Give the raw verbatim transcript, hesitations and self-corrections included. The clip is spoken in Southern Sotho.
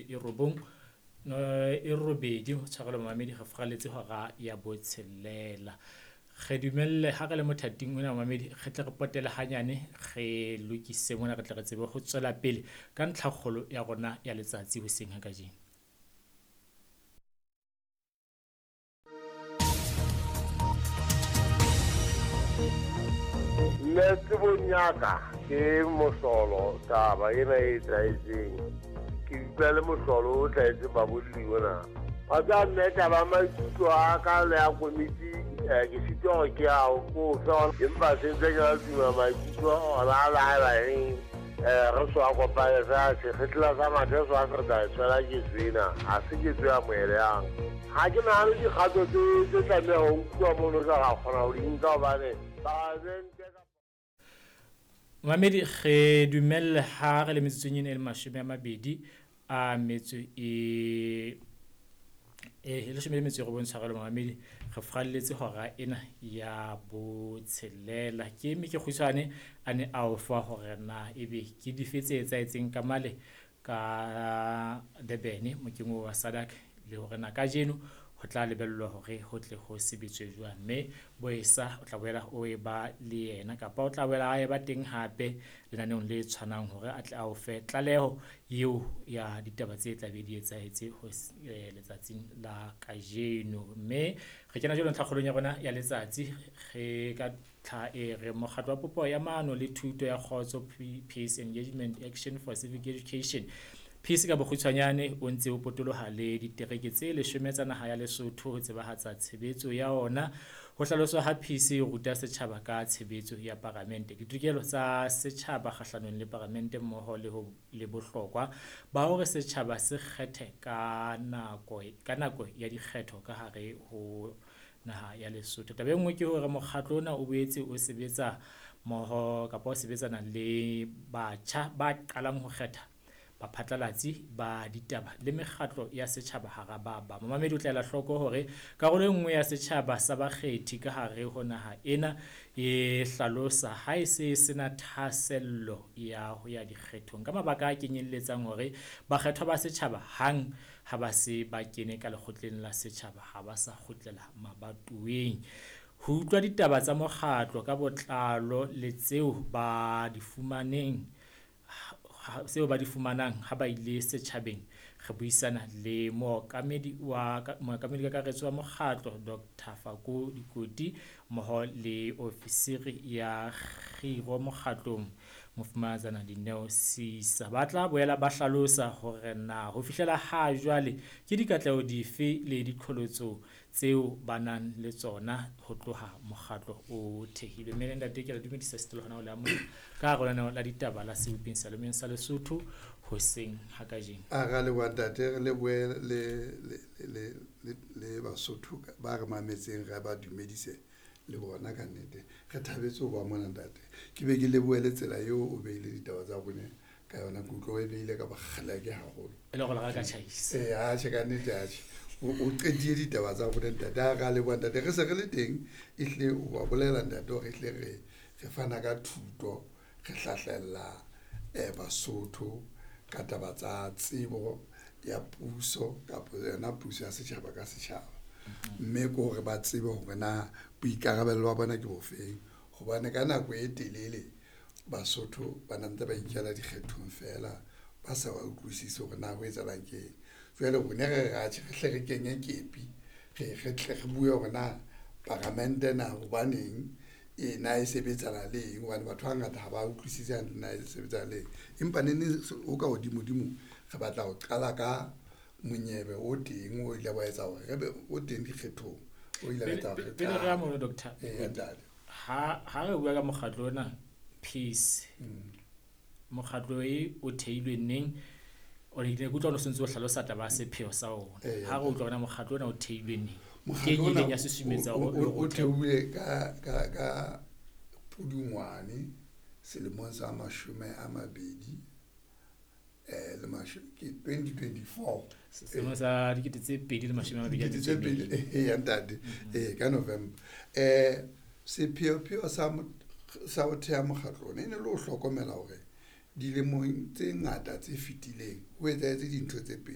e robong e robedi tshwarelo mamedi re furaletse hora ya botshelela. Re dumelle ha re le mothating ona mamedi re tle re potele hanyane re lokise mona re tle re tsebe ho tswela pele ka ntlhakgolo ya rona ya letsatsi hoseng ha kajeno. Nna tsebong ya ka ke mohlolo taba ena e etsahetseng. Ke utlwa le mohlolo o hlahetseng babolli ona. Wa tseba mme taba maikutlo a ka le ya komiti ke sitwa hore ke a o fe, empa se ntse ke la tuma maikutlo ona a la haeba eng re so a kopane fela sekgetla sa mathe so a se re tla e tshwela ketso ena ha se ketso e amohelehang. Ha ke nahane dikgato tse tlameha ho nkuwa mono re ra kgona ho di nka hobane Mamedi re dumelle ha re le metsotsong ena e le mashome a mabedi a metso e e leshome le metso e robong tshwarelo mamedi re furaletse hora ena ya botshelela. Ke eme ke kgutshwane a ne a o fa hore na ebe ke dife tse etsahetseng ka male ka Durban mokeng wa SADC le hore na kajeno ho tla lebellwa hore ho tle ho sebetswe jwang, mme Boesa o tla boela o e ba le yena kapa o tla boela a eba teng hape lenaneong le tshwanang hore a tle a o fe tlaleho eo ya ditaba tse tla be di etsahetse ho letsatsing la kajeno. Mme re kena jwalo ntlhakgolong ya rona ya letsatsi re ka tlha e re mokgatlo wa popo ya maano le thuto ya kgotso Peace Engagement Action for Civic Education Peace ka bokgutshwanyane o ntse o potoloha le ditereke tse leshome tsa naha ya Lesotho ho tsebahatsa tshebetso ya ona. Ho hlaloswa ha Peace e ruta setjhaba ka tshebetso ya paramente, ditokelo tsa setjhaba kgahlanong le paramente mmoho le ho le bohlokwa ba hore setjhaba se kgethe ka nako ka nako ya dikgetho ka hare ho naha ya Lesotho. Taba e nngwe ke hore mokgatlo ona o boetse o sebetsa mmoho kapa o sebetsana le batjha ba qalang ho kgetha baphatlalatsi ba ditaba le mekgatlo ya setjhaba hara ba bang. Momamedi o tla ela hloko hore karolo e nngwe ya setjhaba sa bakgethi ka hare ho naha ena e hlalosa ha e se sena thahasello ya ho ya dikgethong ka mabaka a kenyelletsang hore bakgethwa ba setjhaba hang ha ba se ba kene ka lekgotleng la setjhaba ha ba sa kgutlela mabatoweng. Ho utlwa ditaba tsa mokgatlo ka botlalo le tseo ba di fumaneng seo ba di fumanang ha ba ile setjhabeng re buisana le mookamedi wa mookamedi kakaretso wa mokgatlo Doctor Fako Dikoti mmoho le ofisiri ya kgiro mokgatlong Mofumahatsana Dineo Sisa. Ba tla boela ba hlalosa hore na ho fihlela ha jwale ke dikatleho dife le diqholotso tseo ba nang le tsona ho tloha mokgatlo o thehilwe. Mme ntate ke le dumedisa setolo hona ho le amohela ka hare ho lenaneo la ditaba la Sebopeng Seyalemoyeng sa Lesotho hoseng ha kajeno. A ra leboha ntate, re lebohe le le le le le Basotho ba re mametseng, re ba dumedise le bona ka nnete. Re thabetse ho ba mona ntate. Ke be ke lebohe le tsela eo o beile ditaba tsa rona ka yona, ke utlwa o e beile ka bokgeleke haholo. E le hore le ka tjhaisa. Eh, atjhe ka nnete atjhe. O qetile ditaba tsa rona ntate. Ha ra leboha ntate, re se re le teng ehlile o ba bolela ntate hore ehlile re re fana ka thuto, re hlahlella eh Basotho ka taba tsa tsebo ya puso kapa yona puso ya setjhaba ka setjhaba. Mme ke hore ba tsebe hore na boikarabelo ba bona ke bofeng, hobane ka nako e telele Basotho ba na ntse ba ikela dikgethong fela ba sa ba utlwisise hore na ho etsahalang ke eng. Jwale rona re re atjhe re hle re kenye kepi, re re tle re bue hore na paramente na hobaneng e na e sebetsana le eng, hobane batho ba bangata ha ba utlwisise hantle na e sebetsana le eng. Empa neneng ho ka hodimodimo re batla ho qala ka monyebe o teng o ile wa etsa hore re be o teng dikgethong, o ile wa etsa hore re Pele re ya mono doctor, Eh, ntate. ha ha re bua ka mokgatlo ona Peace, mokgatlo e o theilwe neng? O ile ke utlwa o sentse o hlalosa taba ya sepheo sa ona. Eh, Ha re utlwa hore na mokgatlo ona o theilwe neng? Mokgatlo Ke eng e ona ileng ya susumetsa o- hore o- o o theilwe ka ka ka Pudungwane selemong sa mashome a mabedi eh le masho ke twenty twenty-four. Selemong sa dikete tse pedi le mashome a mabedi a Dikete tse metso e pedi, mmedi. eh, ya ntate. Eh, ka November. Eh, sepheopheo sa mo-, sa ho theha mokgatlo ona e ne le ho hlokomela hore dilemong tse ngata tse fetileng ho etsahetse dintho tse pedi.